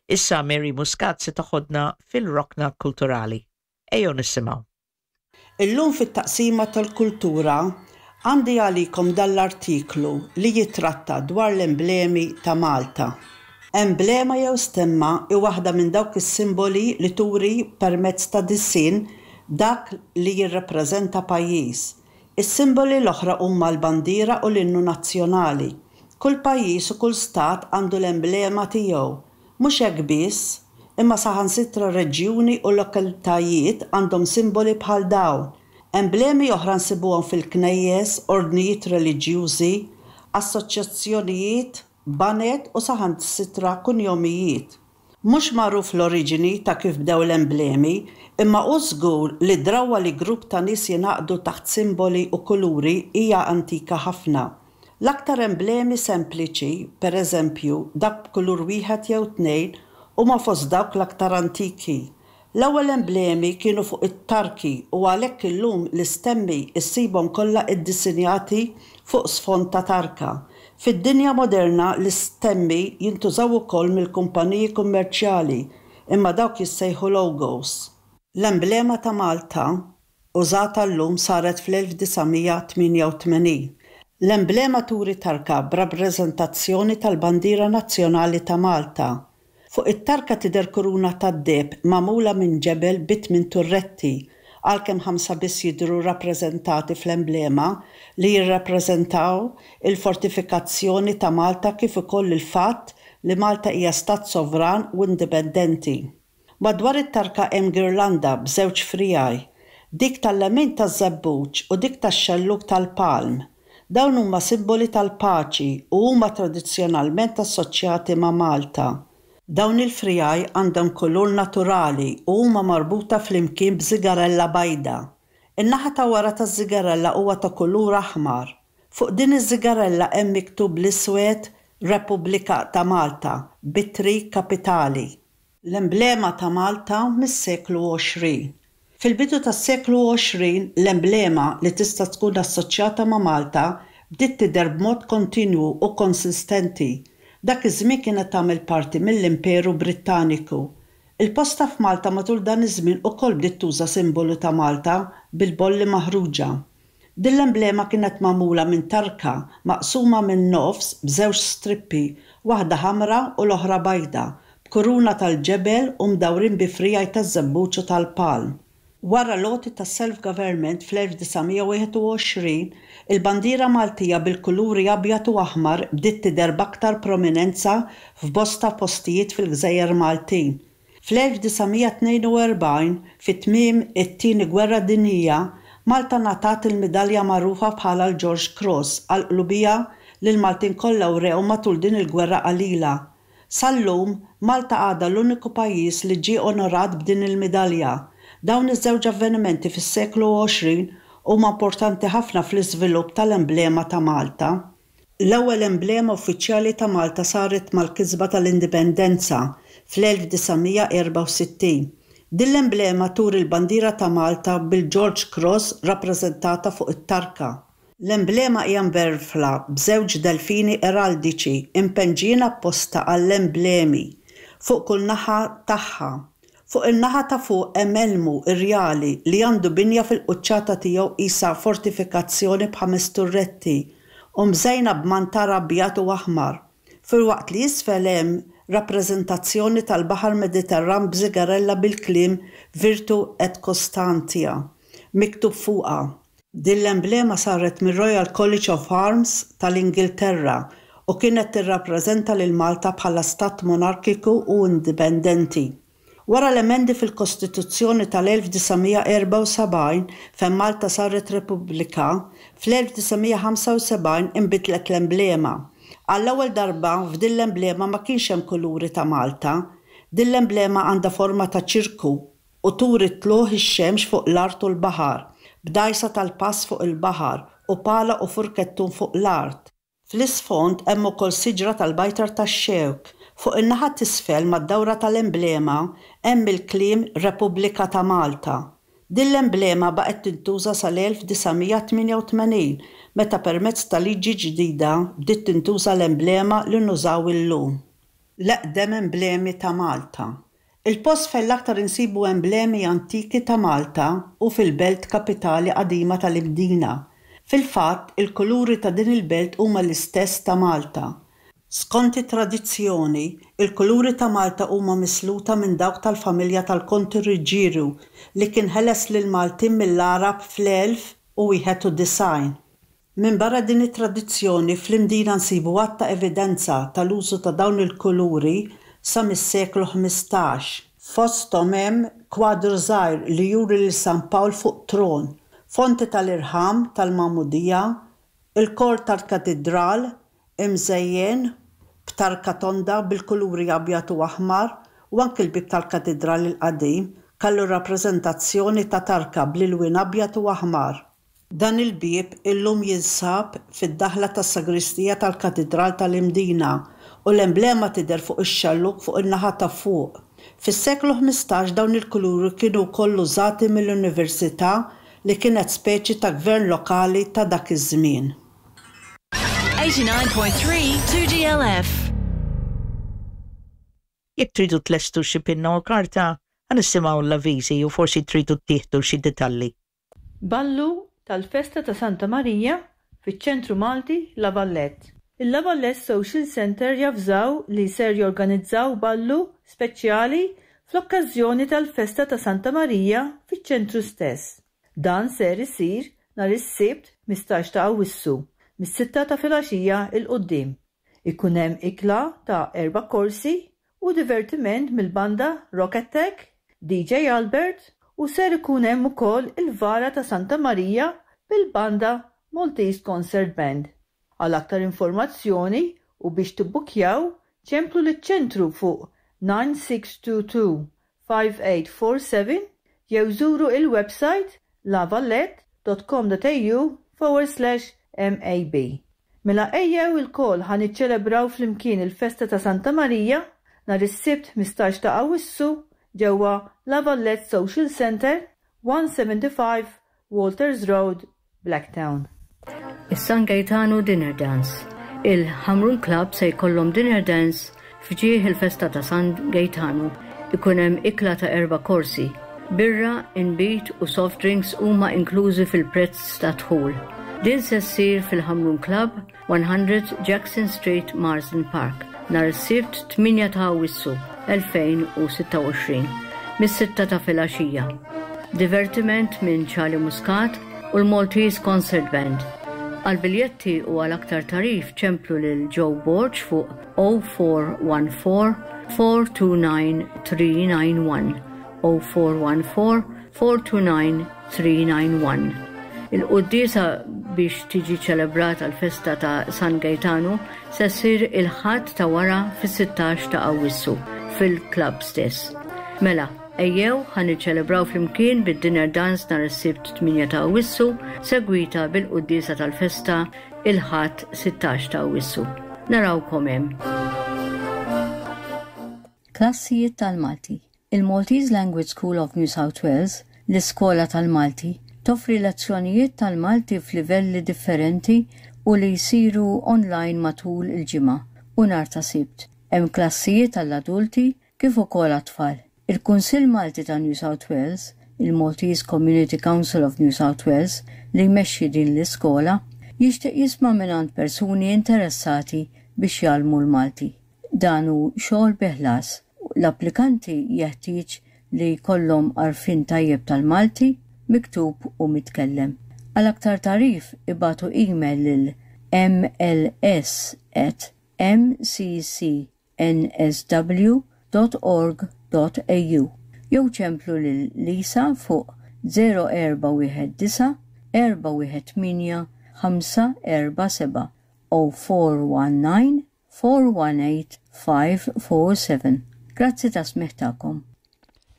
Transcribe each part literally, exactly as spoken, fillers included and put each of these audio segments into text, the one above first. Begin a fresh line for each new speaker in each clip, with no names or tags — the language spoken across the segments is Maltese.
Issa Mary Muscat se toħodna fil-rokna kulturali. Ejjew nisimgħu.
Illum fit-taqsima tal-kultura għandi għalikom dal-artiklu li jitratta dwar l-emblemi ta' Malta. Emblema jew stemma hi waħda minn dawk is-simboli li turi permezz ta' disinn dak li jirrappreżenta pajjiż. Is-simboli l-oħra huma l-bandiera u l-innu nazzjonali. Kull pajjiż u kull stat għandu l-emblema tiegħu. Mhux hekk biss, imma saħansitra reġjuni u lokalitajiet għandhom simboli bħal dawn. Emblemi oħra nsibuhom fil-knejjes, ordnijiet reliġjużi, assoċjazzjonijiet, baned u saħansitra kunjomijiet. Mhux magħruf l-oriġini ta' kif bdew l-emblemi, imma hu żgur li drawwa li grupp ta' nies jingħaqdu taħt simboli u kuluri hija antika ħafna. L-aktar emblemi sempliċi, per eżempju, dak b'kulur wieħed jew tnejn, huma fost dawk l-aktar antiki. L-ewwel emblemi kienu fuq it-tarki u għalhekk illum l-istemmi issibhom kollha iddisinjati fuq sfond ta' tarka. Fid-dinja moderna l-istemmi jintużaw ukoll mill-kumpaniji kummerċjali imma dawk jissejħu logos. L-emblema ta' Malta użata llum saret fl-elf disa' mija tmienja u tmenin. L-emblema turi tarka b'rappreżentazzjoni tal-bandiera nazzjonali ta' Malta. Fuq it-tarka tidher kuruna tad-deheb magħmula minn ġebel bi tmien turretti, għalkemm ħamsa biss jidhru rappreżentati fl-emblema li jirrappreżentaw il-fortifikazzjoni ta' Malta kif ukoll il-fatt li Malta hija stat sovran u indipendenti. Madwar it-tarka hemm girlanda b'żewġ frijaj, dik tal-lemin taż-żebbuġ u dik tax-xellug tal-palm. Dawn huma simboli tal-paċi u huma tradizzjonalment assoċjati ma' Malta. Dawn il-frijaj għandhom kulur naturali u huma marbuta flimkien b'żigarella bajda. In-naħa ta' wara taż-żigarella huwa ta' kulur aħmar. Fuq din iż-żigarella hemm miktub bl-iswed Repubblika ta' Malta b'ittri kapitali. L-emblema ta' Malta mis-seklu għoxrin. Fil-bidu tas-seklu għoxrin, l-emblema li tista' tkun assoċjata ma' Malta bdiet tidher b'mod kontinwu u konsistenti. Dak iż-żmien kienet tagħmel parti mill-Imperu Brittaniku. Il-posta f'Malta matul dan iż-żmien ukoll bdiet tuża simbolu ta' Malta bil-bolli maħruġa. Din l-emblema kienet magħmula minn tarka maqsuma minn nofs b'żewġ strippi, waħda ħamra u l-oħra bajda, b'kuruna tal-ġebel u mdawrin bi frijaj taż-żebbuġ u tal-palm. Wara l-għoti tas-self-government fl-elf disa' mija wieħed u għoxrin, il-bandiera Maltija bil-kuluri abjad u aħmar bdiet tidher b'aktar prominenza f'bosta postijiet fil-Gżejjer Maltin. Fl-elf disa' mija tnejn u erbgħin, fi tmiem it-Tieni Gwerra Dinjija, Malta ngħatat il-midalja magħrufa bħala l-George Cross għall-qlubija li l-Maltin kollha wrew matul din il-gwerra qalila. Sal-lum, Malta għadha l-uniku pajjiż li ġie onorat b'din il-midalja. Dawn iż-żewġ avvenimenti fis-seklu għoxrin huma importanti ħafna fl-iżvilupp tal-emblema ta' Malta. L-ewwel emblema uffiċjali ta' Malta saret mal-kisba tal-Indipendenza fl-elf disa' mija erba' u sittin. Din l-emblema turi l-bandiera ta' Malta bil-George Cross rappreżentata fuq it-tarka. L-emblema hija mverfla b'żewġ delfini eraldiċi impenġijin apposta għall-emblemi fuq kull naħa tagħha. Fuq in-naħa ta' fuq hemm elmu irjali li għandu binja fil-quċċata tiegħu qisha fortifikazzjoni b'ħames turretti u mżejna b'mantar abjad u aħmar, filwaqt li isfel hemm rappreżentazzjoni tal-Baħar Mediterran b'żigarella bil-kliem Virtu et Constantia miktub fuqha. Din l-emblema saret mir-Royal College of Arms tal-Ingilterra u kienet tirrappreżenta lil Malta bħala stat monarkiku u indipendenti. Wara l-emendi fil-Kostituzzjoni tal-elf disa' mija erba' u sebgħin fejn Malta saret Repubblika, fl-elf disa' mija ħamsa u sebgħin inbidlet l-emblema. Għall-ewwel darba f'din l-emblema ma kienx hemm kuluri ta' Malta. Din l-emblema għandha forma ta' ċirku u turi tlugħ ix-xemx fuq l-art u l-baħar, b'dgħajsa tal-pass fuq il-baħar u pala u furkettun fuq l-art. Fl-isfond hemm ukoll siġra tal-bajtar tax-xewk. Fuq in-naħa t'isfel mad-dawra tal-emblema hemm il-kliem Repubblika ta' Malta. Din l-emblema baqgħet tintuża sal-elf disa' mija tmienja u tmenin meta permezz ta' liġi ġdida bdiet tintuża l-emblema li nużaw illum. l-eqdem emblemi ta' Malta. Il-post fejn l-aktar insibu emblemi antiki ta' Malta hu fil-belt kapitali qadima tal-Imdina. Fil-fatt, il-kuluri ta' din il-belt huma l-istess ta' Malta. Skont it-tradizzjoni, il-kuluri ta' Malta huma misluta minn dawk tal-familja tal-Konti Ruġġieru li kien ħeles lill-Maltin mill-Għarab fl-elf u wieħed u disgħin. Minbarra din it-tradizzjoni, fl-Imdina nsibu għadd ta' evidenza tal-użu ta' dawn il-kuluri sa mis-seklu ħmistax. Fosthom hemm kwadru żgħir li juri lil San Pawl fuq tron, fonti tal-irħam tal-Magħmudija, il-kor tal-katidral imżejjen b'tarka tonda bil-kuluri abjad u aħmar u anki l-bieb tal-katidral il-qadim kellu rappreżentazzjoni ta' tarka bl-ilwien abjad u aħmar. Dan il-bieb illum jinsab fid-daħla tas-sagristija tal-Katidral tal-Imdina u l-emblema tidher fuq ix-xellug fuq in-naħa ta' fuq. Fis-seklu ħmistax dawn il-kuluri kienu wkoll użati mill-Università li kienet speċi ta' gvern lokali ta' dak iż-żmien.
eighty-nine point three two G L F.
Jekk tridu tlestu xi pinna u karta, ħa nisimgħu l-avviżi u forsi tridu tieħdu xi detalli.
Ballu tal-Festa ta' Santa Marija fiċ-Ċentru Malti La Vallette. Il-La Vallette Social Center javżaw li ser jorganizzaw ballu speċjali fl-okkażjoni tal-Festa ta' Santa Marija fiċ-ċentru stess. Dan ser isir nhar is-Sibt ħmistax ta' Awwissu mis-sitta ta' filgħaxija il quddiem. Ikun hemm ikla ta' erba' korsi u divertiment mill-banda Rock Attack, D J Albert u ser ikun hemm ukoll il-vara ta' Santa Marija bil-banda Maltese Concert Band. Għal aktar informazzjoni u biex tibbukjaw, ċemplu liċ-ċentru fuq nine six two two five eight four seven jew żuru il-website lavallette dot com dot a u forward slash M A B. Mela ejjew ilkoll ħa niċċelebraw flimkien il-festa ta' Santa Marija nhar is-Sibt ħmistax ta' Awwissu ġewwa La Vallette Social Center, one seventy-five Walters Road, Blacktown.
Is-San Gaetano Dinner Dance. Il-Ħamrun Club se jkollhom Dinner Dance f'ġieħ il-festa ta' San Gaetano. Ikun hemm ikla ta' erba' korsi. Birra, inbid u soft drinks huma inklużi fil-prezz ta' dħul. Din se ssir fil-Ħamrun Club, one hundred Jackson Street, Marsden Park, nhar is-Sibt tmienja ta' Awwissu elfejn u sitta u għoxrin, mis-sitta ta' filgħaxija. Divertiment minn Charlie Muscat u l-Maltese Concert Band. Għal biljetti u għal aktar tarif ċemplu lil Joe Borg fuq oh four one four four two nine three nine one, oh four one four four two nine three nine one. Il-quddiesa biex tiġi ċelebrata l-festa ta' San Gaetano se ssir il-Ħadd ta' wara fis-sittax ta' Awwissu fil-klabb stess. Mela, ejjew ħa niċċelebraw flimkien bid-dinner dance nhar is-Sibt tmienja ta' Awwissu, segwita bil-quddiesa tal-festa il-Ħadd sittax ta' Awwissu. Narawkom hemm. Klassijiet tal-Malti. Il-Maltese Language School of New South Wales, l-iskola tal-Malti, toffri lezzjonijiet tal-Malti f'livelli differenti u li jsiru online matul il-ġimgħa u nhar ta' Sibt. Hemm klassijiet għall-adulti kif ukoll għat-tfal. Il-Kunsill Malti ta' New South Wales, il-Maltese Community Council of New South Wales, li jmexxi din l-iskola, jixtieq jisma' mingħand persuni interessati biex jgħallmu l-Malti. Dan hu xogħol bi ħlas. L-applikanti jeħtieġ li jkollhom għarfien tajjeb tal-Malti, miktub u mitkellem. Għal aktar tarif ibatu email lil m l s at m c c n s w dot org dot a u jew ċemplu lil Lisa fuq zero erba' wieħed disa' erba' wieħed tmienja ħamsa erba' seba' o four one nine four one eight five four seven. Grazzi ta' smigħ tagħkom.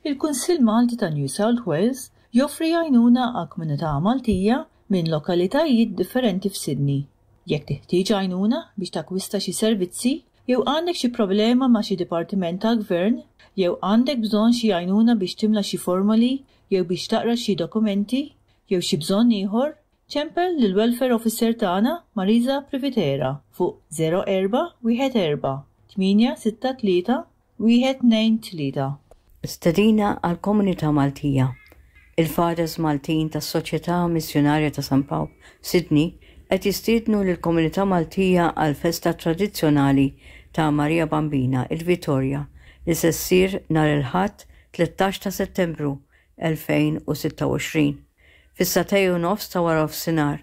Il-Kunsill Malti ta' New South Wales joffri għajnuna għal komunità Maltija minn lokalitajiet differenti f'Sydney. Jekk teħtieġ għajnuna biex takkwista xi servizzi, jew għandek xi problema ma' xi dipartiment tal-gvern, jew għandek bżonn xi għajnuna biex timla xi formoli, jew biex taqra xi dokumenti, jew xi bżonn ieħor, ċempel lill-Welfare Officer tagħna Marisa Privitera fuq zero erba' wieħed erba' tmienja sitta tlieta wieħed tnejn tlieta.
Stedina għall-Komunità Maltija. Il-Fathers Maltin tas-Soċjetà Missjunarja ta' San Pawl, Sydney, qed jistiednu lill-Komunità Maltija għal festa tradizzjonali ta' Maria Bambina, il-Vitorja, li se ssir nhar il-Ħadd tlettax ta' Settembru elfejn u sitta u għoxrin fis-sagħtejn u nofs ta' wara nofsinhar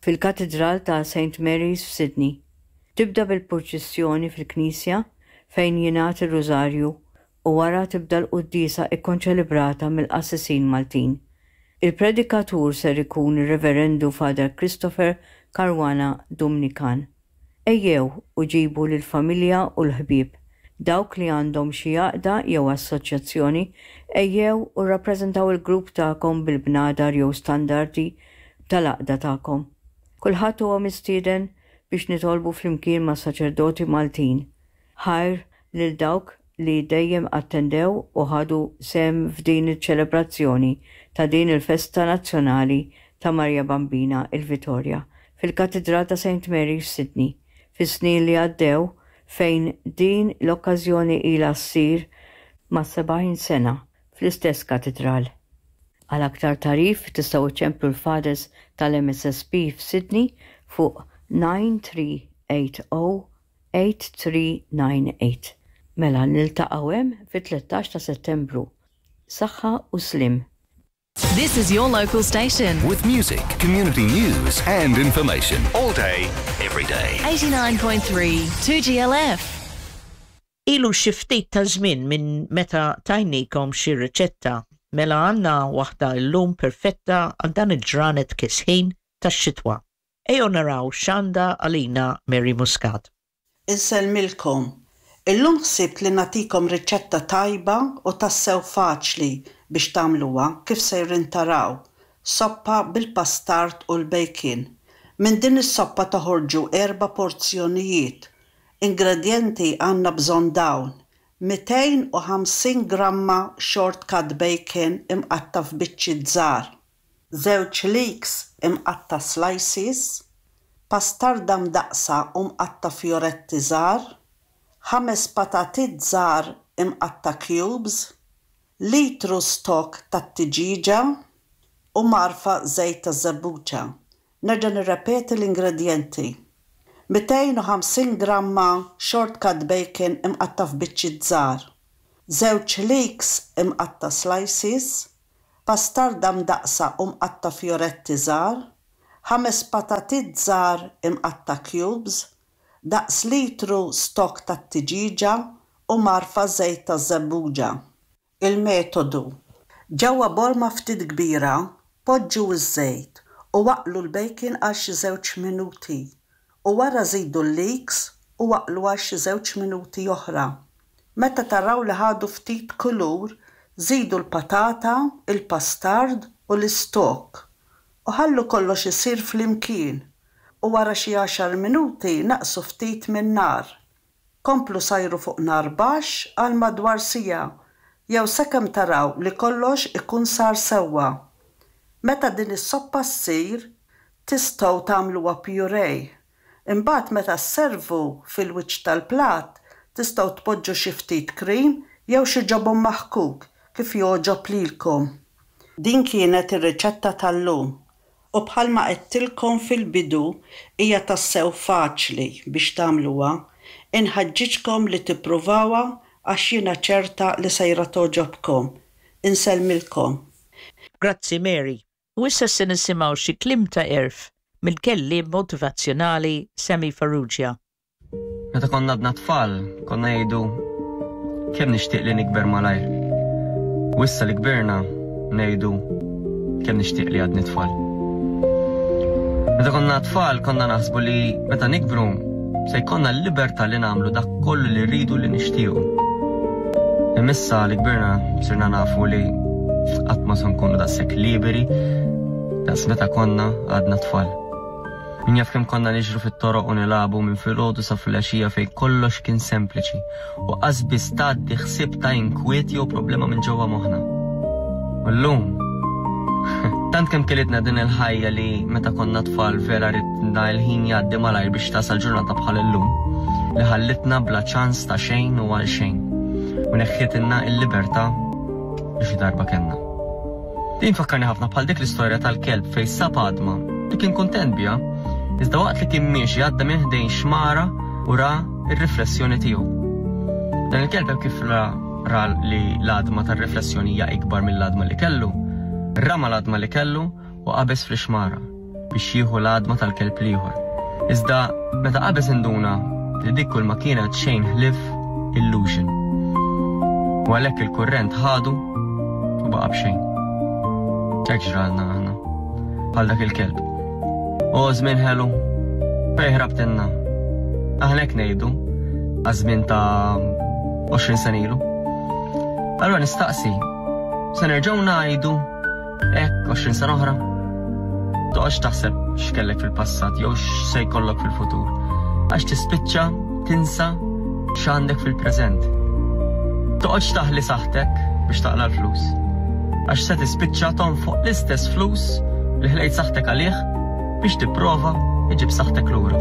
fil-Katidral ta' Saint Mary's f'Sydney. Tibda bil-purċissjoni fil-Knisja fejn jingħad ir-Rużarju u wara tibda l-quddiesa ikkonċelebrata mill-qassisin Maltin. Il-predikatur ser ikun ir-Reverendu Father Christopher Caruana Dumnikan. Ejjew u ġibu lill-familja u l-ħbieb. Dawk li għandhom xi għaqda jew assoċjazzjoni, ejjew u rrappreżentaw il-grupp tagħkom bil-bnadar jew standardi tal-għaqda tagħkom. Kulħadd huwa mistieden biex nitolbu flimkien ma' saċerdoti Maltin. Ħajr lil dawk li dejjem attendew u ħadu sehem f'din iċ-ċelebrazzjoni ta' din il-festa nazzjonali ta' Maria Bambina il-Vitorja fil-Katidral ta' Saint Mary f'Sydney fis-snin li għaddew, fejn din l-okkażjoni ilha ssir ma' sebgħin sena fl-istess katidral. Għal aktar tagħrif tistgħu ċċemplu l-Fathers tal-M S S P f'Sydney fuq nine three eight zero eight three nine eight. Mela niltaqgħu hemm fit-tlettax ta' Settembru. Saħħa u sliem.
This is your local station.
With music, community news, and information. All day, every day.
eighty-nine point three two G L F.
Ilu xi ftit ta' żmien minn meta tajnikom xi riċetta, mela għandna waħda llum perfetta għal dan il-ġranet kesħin tax-xitwa. Ejjew naraw x'għandha għalina Mary Muscat.
Insellmilkom. Illum ħsibt li nagħtikom riċetta tajba u tassew faċli biex tagħmluha, kif sejrin taraw. Soppa bil-pastard u l-bacon. Minn din is-soppa toħorġu erba' porzjonijiet. Ingredienti għandna bżonn dawn: mitejn u ħamsin gramma short cut bacon imqatta' f'biċċiet żgħar, żewġ leeks imqatta' slices, pastarda mdaqqsa u mqatta' fjoretti żgħar, ħames patatit żgħar imqatta' cubes, litru stock tat-tiġiġa u mgħarfa żejt ta' żebbuġa. Nerġa' nirrepeti l-ingredienti. mitejn u ħamsin gramma short cut bacon imqatta' f'biċċiet żgħar, żewġ leeks imqatta' slices, pastarda mdaqqsa u mqatta' fjoretti żgħar, ħames patatit żgħar imqatta' cubes, daqs litru stock tat-tiġiġa u mgħarfa żejt ta' żebbuġa. Il-metodu. Ġewwa borma ftit kbira, poġġu ż-żejt u aqlu l-bacon għal xi żewġ minuti u wara żidu l-leeks u aqlu għal xi żewġ minuti oħra. Meta taraw li ħadu ftit kulur, żidu l-patata, il-pastard u l-istok u ħallu kollox isir flimkien u wara xi għaxar minuti naqsu ftit min-nar. Komplu sajru fuq nar baxx għal madwar siegħa jew sakemm taraw li kollox ikun sar sewwa. Meta din is-soppa ssir, tistgħu tagħmluha puree. Imbagħad meta sservu, fil-wiċċ tal-platt tistgħu tpoġġu xi ftit cream jew xi ġobon maħkuk, kif jogħġob lilkom. Din kienet ir-riċetta tal-lum u bħalma għedtilkom fil-bidu, hija tassew faċli biex tagħmluha. Inħeġġiġkom li tippruvawha għax jiena ċerta li sejra togħġobkom. Insellmilkom.
Grazzi, Mary. U issa se nisimgħu xi kliem ta' għerf mill-kelliem motivazzjonali Sammy Farrugia.
Meta konna għadna tfal, konna ngħidu kemm nixtieq li nikber malajr. U issa li kbirna ngħidu kemm nixtieq li għadni tfal. Meta konna tfal konna naħsbu li meta nikbru se jkollna l-libertà li nagħmlu dak kollu li rridu, li nixtiequ. Imma issa li kbirna sirna nafu li qatt ma se nkunu daqshekk liberi daqs meta konna għadna tfal. Min jaf kemm konna niġru fit-toroq u nilagħbu minn filgħodu sa filgħaxija, fejn kollox kien sempliċi u qas biss tgħaddi ħsieb ta' inkwiet jew problema minn ġewwa moħħna. U llum tant kemm kilitna din il-ħajja li meta konna tfal vera ridna l-ħin jgħaddi malajr biex tasal ġurnata bħal illum. li ħallitna bla ċans ta' xejn u għal xejn u neħħitilna il-libertà li xi darba kellna. Din fakkarni ħafna bħal dik l-istorja tal-kelb fejn sab għadma li kien kuntent biha, iżda waqt li kien miexi għadda minn ħdejn xmara u ra ir-riflessjoni tiegħu. Dan il-kelb kif ra, ra li l-għadma tar-riflessjoni hija ikbar mill-għadma li kellu, rama l-għadma li kellu u qabeż fl-xmara biex jieħu l-għadma tal-kelb l-ieħor. Iżda meta qabeż induna li dik kull ma kienet xejn ħlief illusion. U għalhekk il-kurrent ħadu u baqa' b'xejn. Hekk ġralna aħna, bħal dak il-kelb. O żmien ħelu, fejn ħrabtilna. Aħna hekk ngħidu għaż-żmien ta' għoxrin sena ilu. Allura nistaqsi, se nerġgħu ngħidu hekk għoxrin sena oħra? Toqgħodx taħseb x'kellek fil-passat jew x'se jkollok fil-futur, għax tispiċċa tinsa x'għandek fil-preżent. Toqgħodx taħli saħtek biex taqla l-flus, għax se tispiċċa tonfoq l-istess flus li ħlejt saħtek għalih biex tipprova iġib saħtek lura.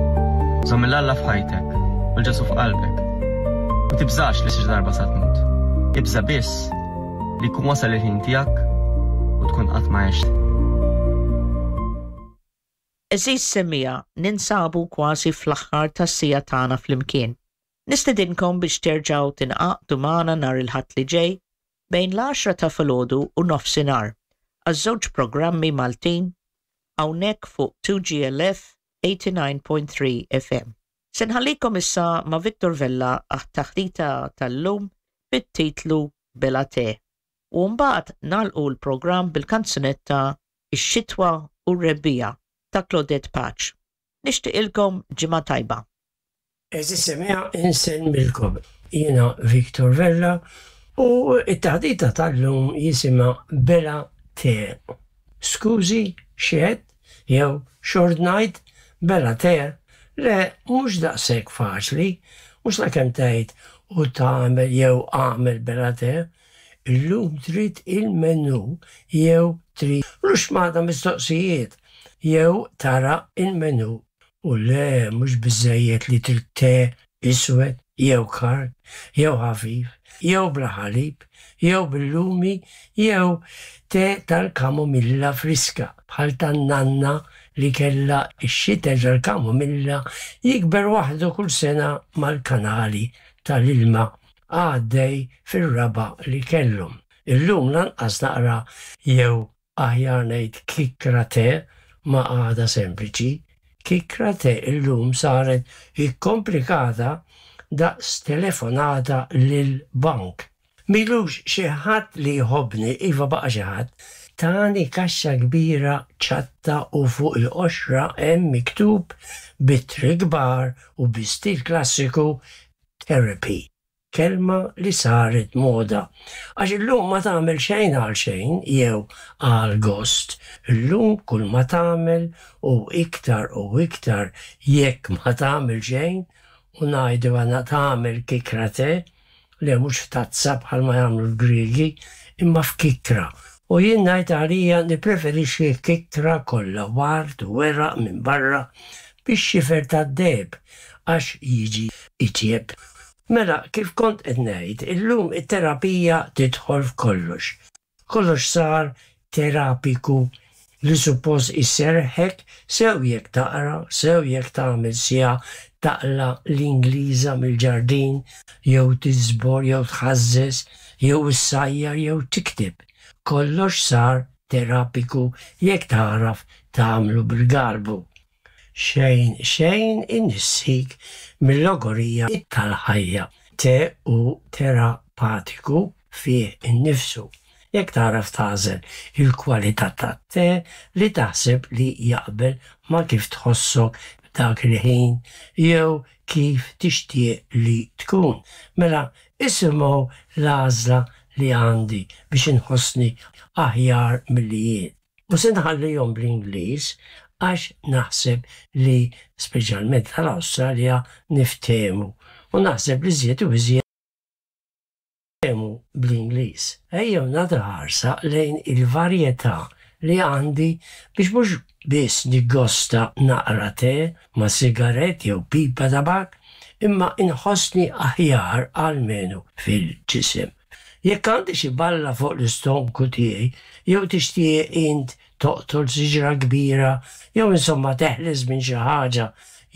Żomm 'il Alla f'ħajtek u 'l Ġesù f'qalbek. U tibżax li xi darba sa tmut. Ibża biss li jkun wasal il-ħin tiegħek u tkun qatt ma għext.
Għeżież semmiegħa, ninsabu kważi fl-aħħar tas-siegħa tagħna flimkien. Nistedinkom biex terġgħu tingħaqdu magħna nhar il-Ħadd li ġej bejn l-għaxra ta' filgħodu u nofsinhar għaż-żewġ programmi Maltin hawnhekk fuq two G L F eighty-nine point three F M. Se nħallikom issa ma' Victor Vella għat-taħdita tal-lum bit-titlu Bela Te. U mbagħad nagħlqu l-programm bil-kanzunetta Ix-Xitwa u r-Rebbiegħa ta' Claudette Pace. Nixtieqilkom ġimgħa tajba.
Għeżież semmiegħa, insellmilkom. Jiena Victor Vella u it-taħdita tal-lum jisimha Bela Te. Skużi, x'għedt, jew x'ordnajt, bela te? Le, mhux daqshekk faċli, mhux la kemm tgħid u tagħmel jew għamel bela te. Illum trid il-menu jew trid ruxmata mistoqsijiet jew tara il-menu. U le, mhux biżejjed li trid te iswed jew kard, jew ħafif, jew bla ħalib, jew bil-lumi, jew te tal-kamomilla friska, bħal tan-nanna li kella ix-xitel tal-kamomilla jikber waħdu kull sena mal-kanali tal-ilma għaddej fir-raba' li kellhom. Illum lanqas naqra jew aħjar ngħid kikra te ma għada sempliċi. Kikra te illum saret ikkomplikata daqs telefonata lil bank. M'ilux xi ħadd li jħobbni, iva baqa' xi ħadd, tani kaxxa kbira ċatta u fuq il-qoxra hemm miktub b'ittri kbar u bi stil klassiku "therapy". Kelma li saret moda. Għax illum ma tagħmel xejn għal xejn jew għal gost. Illum kull ma tagħmel u iktar u iktar jekk ma tagħmel xejn u ngħidu għana tagħmel kikra te, li mhux f'tazza bħalma jagħmlu l-Griegi, imma f'kikra. U jien ngħid għalija nippreferixxi kikra kollha ward u weraq minn barra biex xifer tad-deheb għax jiġi itjeb. Mela, kif kont qed ngħid, illum it-terapija tidħol f'kollox. Kollox sar terapiku li suppost isserħek, sew jekk taqra, sew jekk tagħmel siegħa taqla l-Ingliża mill-ġardin, jew tiżbor, jew tħażżeż, jew issajjar, jew tikteb. Kollox sar terapiku jekk tagħraf tagħmlu bil-galbu. Xejn, xejn inissik mill-logorija tal-ħajja. Te hu terapatiku fih innifsu. Jekk tagħraf tagħżel il-kwalità tat-te li taħseb li jaqbel ma' kif tħossok dak il-ħin jew kif tixtieq li tkun. Mela, isimgħu l-għażla li għandi biex inħossni aħjar milli jien. U se nħallihom bl-Ingliż għax naħseb li speċjalment tal-Awstralja niftehmu u naħseb li żjed u iżjed bl-Ingliż. Ejjew nagħtu ħarsa lejn il-varjetà li għandi biex mhux biss niggosta naqra te ma' sigarett jew pipa tabak, imma inħossni aħjar almenu fil-ġisem. Jekk għandi xi balla fuq l-istonku tiegħi, jew tixtieq int toqtol siġra kbira, jew insomma teħles minn xi ħaġa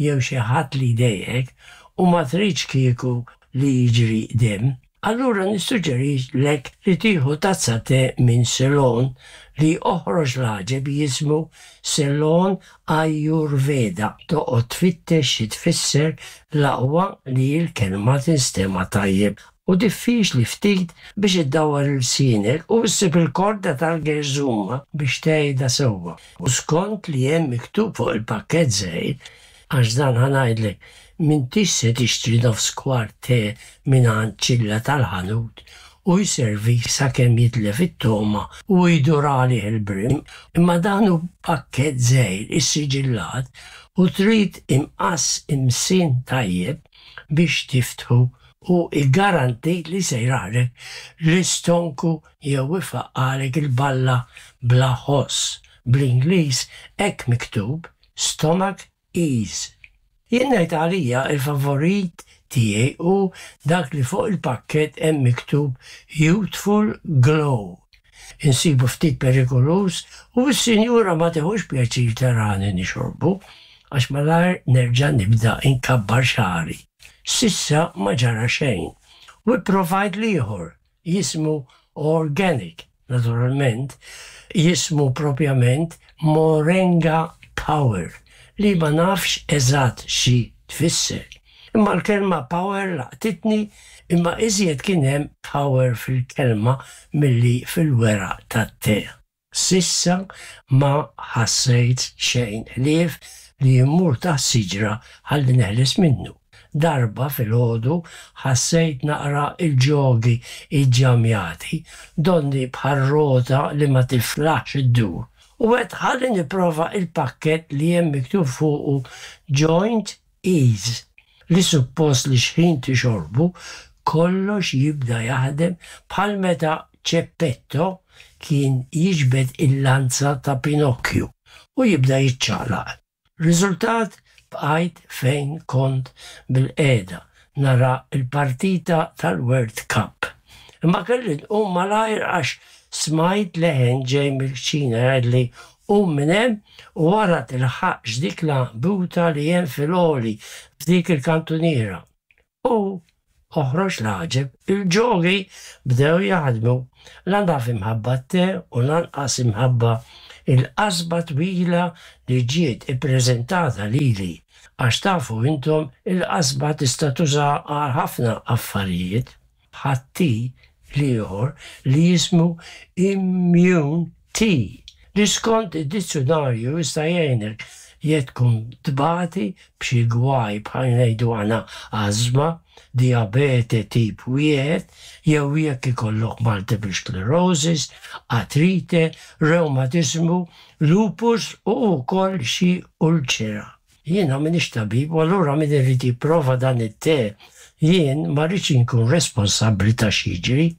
jew xi ħadd li jdejqek u ma tridx kieku li jiġri demm, allura nissuġġerilek li tieħu tazza te minn Ceylon li oħroġ l-għaġeb jismu Ceylon Ayurveda. Toqgħod tfittex xi tfisser l-aqwa li l-kelma tinstema' tajjeb u diffiċli ftit biex iddawwar ilsienek u ssib il-korda tal-gerżuma biex tgħidha sewwa. U skont li hemm miktub fuq il-pakkett żgħir, għax dan ħa ngħidlek, m'intix se tixtri nofs kwart te mingħand ċilla tal-ħanut u jservik sakemm jitlef it-togħma u jdur għalih il-brim, imma dan hu pakkett żgħir issiġillat u trid imqass imsien tajjeb biex tiftħu u iggarantit li se jraħlek l-istonku jew ifaqqagħlek il-balla bla ħoss. Bl-Ingliż hekk miktub Stomach Ease. Jien ngħid għalija il-favorit tiegħi hu dak li fuq il-pakkett hemm miktub Youthful Glow. Insibu ftit perikoluż u s-sinjura ma tiħux pjaċir tarani nixorbu għax malajr nerġa' nibda inkabbar xagħri. S'issa ma ġara xejn. U pprovajt l-ieħor, jismu Organic, naturalment, jismu propjament Moringa Power, li ma nafx eżatt xi tfisser. Imma l-kelma power laqtitni, imma iżjed kien hemm power fil-kelma milli fil-weraq tat-te. S'issa ma ħassejt xejn ħlief li mmur taħt siġra ħalli neħles minnu. Darba filgħodu ħassejt naqra il-ġogi iġġamjati, donni bħal rota li ma tiflaħx iddur. U għedt ħalli nipprova il-pakkett li hemm miktub fuqu Joint Ease, li suppost li xħin tixorbu kollox jibda jaħdem bħal meta Ċeppetto kien jiġbed il-lanza ta' Pinocchio u jibda jiċċaqlaq. Riżultat bqajt fejn kont bilqiegħda nara l-partita tal-World Cup. Imma kelli nqum malajr għax smajt leħen ġej mill-kċina jgħidli qum minn hemm u ara tilħaqx dik l-għanqbuta li hemm fil-għoli f'dik il-kantuniera. U oħroġ l-għaġeb, il-ġogi bdew jaħdmu, la naf imħabba t-te u lanqas imħabba il-qasba twila li ġiet ippreżentata lili, għax tafu intom il-qasba tista' tuża għal ħafna affarijiet, bħat-te l-ieħor li jismu Immune Tea, li skont id-dizzjunarju jista' jgħinek jekk tkun tbati b'xi gwaj bħal ngħidu aħna ażma, dijabete tip wieħed, jew jekk ikollok multiple sclerosis, artrite, rewmatiżmu, lupus u wkoll xi ulċera. Jiena m'iniex tabib u allura min irid jipprova dan it-te, jien ma rridx inkun responsabbli ta' x'jiġri.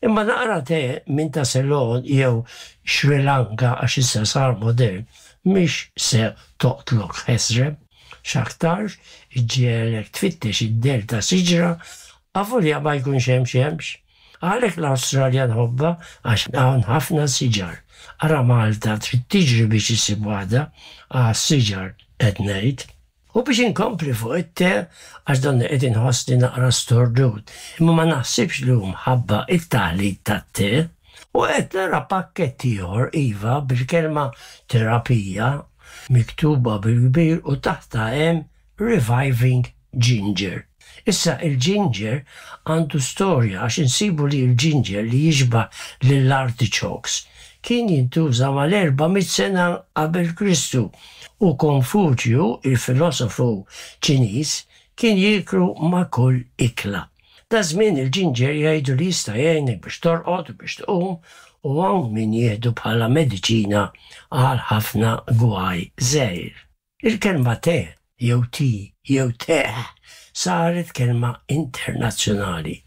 Imma naqra te minn ta' Ceylon jew Sri Lanka għax issa sar modern mhix se toqtlok ħesrem, x'aktarx iġġiegħlek tfittex id-dell ta' siġra avolja ma jkunx hemm xemx. Għalhekk l-Awstralja nħobbha għax hawn ħafna siġar. Ara Malta trid tiġri biex issib waħda għas-siġar qed ngħid. U biex inkompli fuq it-te, għax donni qed inħossni naqra stordut, imma ma naħsibx li hu mħabba it-taħlit tat-te. U qed nara pakkett ieħor iva bil-kelma terapija miktuba bil-kbir u taħtha hemm Reviving Ginger. Issa il-ginger għandu storja għax insibu li l-ginger li jixbah lill-artichokes kien jintuża mal-erba' mitt sena qabel Kristu u Konfuċju, il-filosofu Ċiniż, kien jieklu ma' kull ikla. Daż-żmien il-ġinġer jgħidu li jista' jgħinek biex torqod u biex tqum u hawn min jieħdu bħala mediċina għal ħafna gwaj żgħir. Il-kelma te jew tea jew teh saret kelma internazzjonali.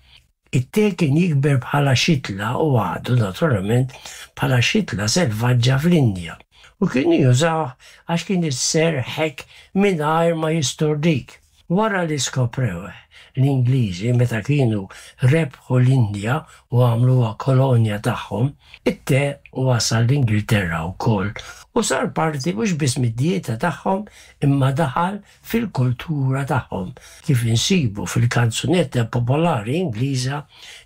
It-te kien jikber bħala xitla u għadu naturalment bħala xitla selvaġġa fl-Indja u kienu jużawh għax kien isserrħek mingħajr ma jistordik. Wara li skoprewh l-Ingliżi meta kienu rebħu l-Indja u għamluha kolonja tagħhom, it-te wasal l-Ingilterra wkoll u sar parti mhux biss mid-dieta tagħhom imma daħal fil-kultura tagħhom kif insibu fil-kanzunetta popolari Ingliża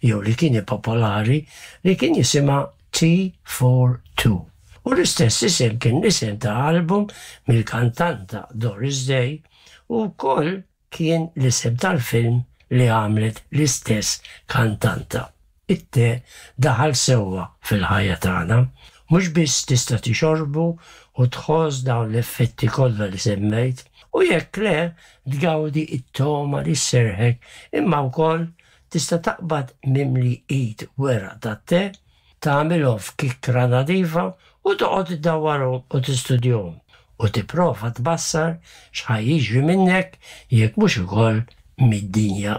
jew li kien popolari li kien jisimha Tea for Two. U l-istess isem kien l-isem ta' album mill-kantanta Doris Day u wkoll kien l-isem tal-film li għamlet l-istess kantanta. It-te daħal sewwa fil-ħajja tagħna, mhux biss tista' tixorbu u tħoss dawn l-effetti kollha li semmejt, u jekk le tgawdi it-togħma li sserrħek, imma wkoll tista' taqbad mimli id weraq tat-te, tagħmilhom f'kikkra nadifa u toqgħod iddawwarhom u tistudjahom u tipprova tbassar x'ħa jiġri minnek jekk mhux ukoll mid-dinja